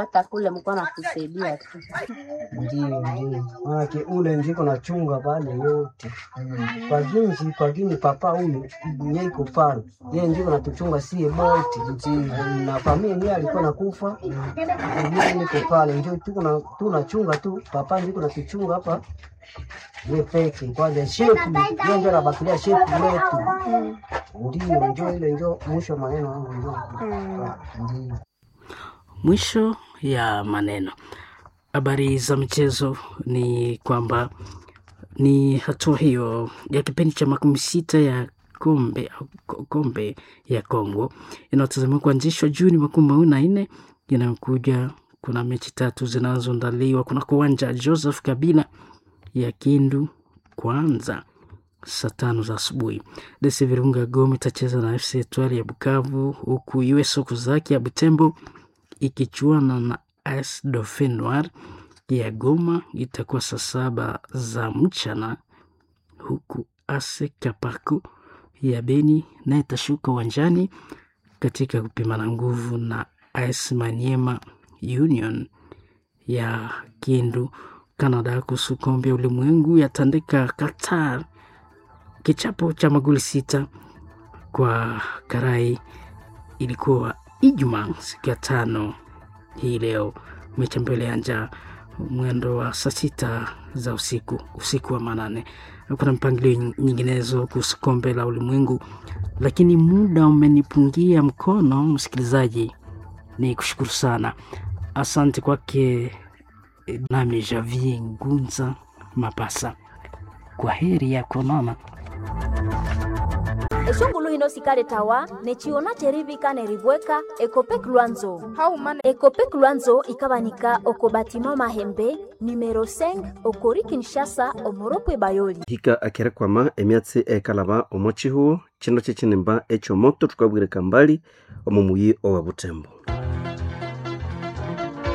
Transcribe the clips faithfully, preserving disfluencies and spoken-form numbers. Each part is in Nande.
Hata kule mko natusaidia tu. Ndio, ndio, maanake ule ndiko nachunga pale yote kwa ginji kwa gini papa huyu nye iko pale yeye ndiko natuchunga sie bote na familia ndiye alikuwa nakufa mimi niko pale ndio tuko na tunachunga tu papa ndiko natuchunga hapa ye peke kwanza shepu yeye ndio anabakilia shepu yetu ndio ndio ile ndio mwisho wa maneno yangu ndio ndio. Mwisho ya maneno. Habari za michezo ni kwamba ni hatua hiyo ya kipindi cha makumi sita ya kombe, kombe ya Kongo inayotazamiwa kuanzishwa Juni makumi mawili na nne inayokuja. Kuna mechi tatu zinazoandaliwa kuna kuwanja Joseph Kabila ya Kindu kwanza saa tano za asubuhi. D C Virunga Goma itacheza na F C Etoile ya Bukavu, huku U S Okuzaki ya Butembo ikichuana na A S Dauphin Noir ya Goma itakuwa saa saba za mchana, huku A S Kapaku ya Beni naye itashuka uwanjani katika kupimana nguvu na A S Maniema Union ya Kindu. Canada kuhusu kombe ya ulimwengu yatandika Qatar kichapo cha magoli sita kwa karai. Ilikuwa Ijumaa siku ya tano hii leo, mechi ambayo ilianza mwendo wa saa sita za usiku, usiku wa manane. Kuna mpangilio nyinginezo kuhusu kombe la ulimwengu, lakini muda umenipungia mkono. Msikilizaji, ni kushukuru sana, asante kwake nami Javier Ngunza Mapasa. Kwa heri ya kuonana. Eshungulu hino sikaletawa nechiona cherivika neribweka Ekopek Lwanzo. Haumana. Ekopek Lwanzo ikabanika oko batima Mahembe numero cinq okori Kinshasa omoropwe Bayoli. Hika akerekwama emyatsi ekalaba omo chihuo chino chechinimba ekyomoto tukabwireka mbali omo muyi owa Butembo.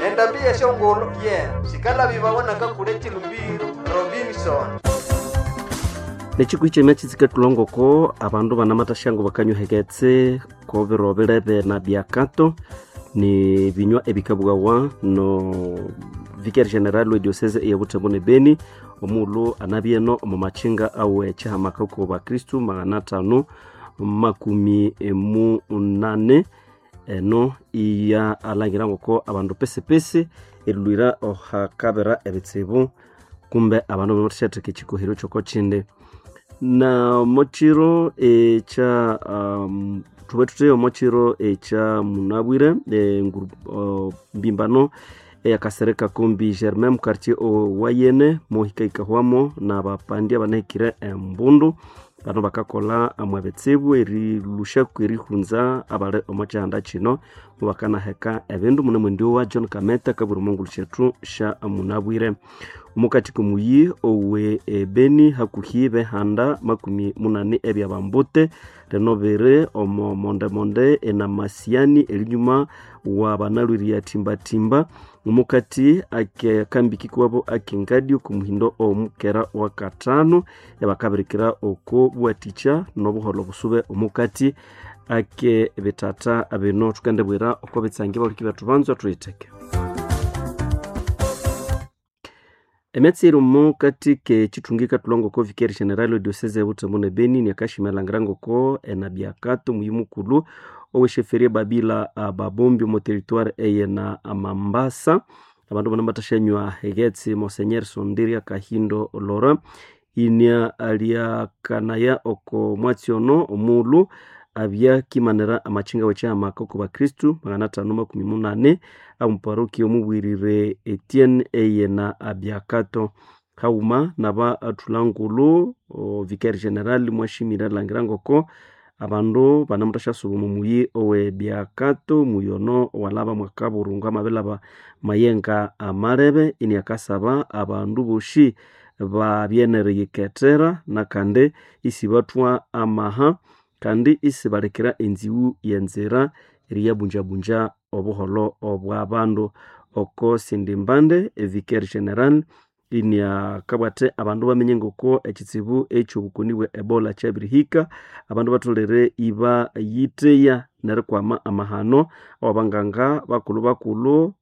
Endambi yeshongolo ye sikala bibawonaka kule chilumbiro Robinson. Nechikwi chemyatsi tsikatulongoko abandu banamathasyango bakanyuheketse ko biro bilebe na byakato ni binywa ebikabwawa no vicaire general we diocese ya Butembo ne Beni omulu anabyeno omu machinga awe chihamaka ko bakristu magana atano makumi munane eno iya alangira ngoko abandu pesipesi erilwira ohakabira ebitsibu kumbe abandu bamathasyatheka ekikohero kyoko kindi na mochiro ekya um, thube thutheyo omochiro ekya munabwire e, nguru, uh, mbimbano eyakasereka kombi Germain mu quartier owayene mohikaikahwamo na bapandi abanahikire embundu bano bakakola amwe ebitsibu erilushaku erihunza abali omo kyihanda kino mubakanaheka ebindu mune mwendi wa John Kameta kabwira omongulu syethu sya munabwire omukati komuyi owe ebeni hakuhi behanda makumi munani ebyabambute rino biri omo mondemonde enamasiani erinyuma wa banalwiria timbatimba omukati akambi kikwabo akengadio kumuhindo omukera wa katano ebakabirikira oko bwatikya nobuholo busube omukati ake bitata bino tukendebwira oko bitsangi baliki bethu banzwa tuyitheke. Emyatsi iri omukati k'ekithungi katulongo ko vicaire general we diocese ya Butembo ne Beni niakashimelangira ngoko enabyakato muyi mukulhu owesheferie Babila Babombi omo territoire eye na Mambasa abandu bano batasyanywa hegetsi Monseigneur Sondiria Kahindo Laurent inia aliakanaya oko mwatsi ono omulhu abya kimanira amachinga w'ekyamaka oko bakristu magana atano makumi munane amuparokia omubwirire Etienne eye na abyakato hauma naba athulangulu vicaire general mwashimire alangira ngoko abandu banamuthasyasuba omo muyi owe byakato muyi ono owalaba mwakaburungu amabilaba mayenga amalebe iniakasaba abandu bosi babye neriyikethera nakandi isibathwa amaha kandi isibalekera enziwu yenzira eriyabunjabunja obuholho obwabandu oko sindi mbande evicaire general iniakabwathe abandu bamenye ngoko ekitsibu ekyobukoni bwe Ebola kyabirihika abandu batholere iba yitheya nerikwama amahano awabanganga bakulhu bakulhu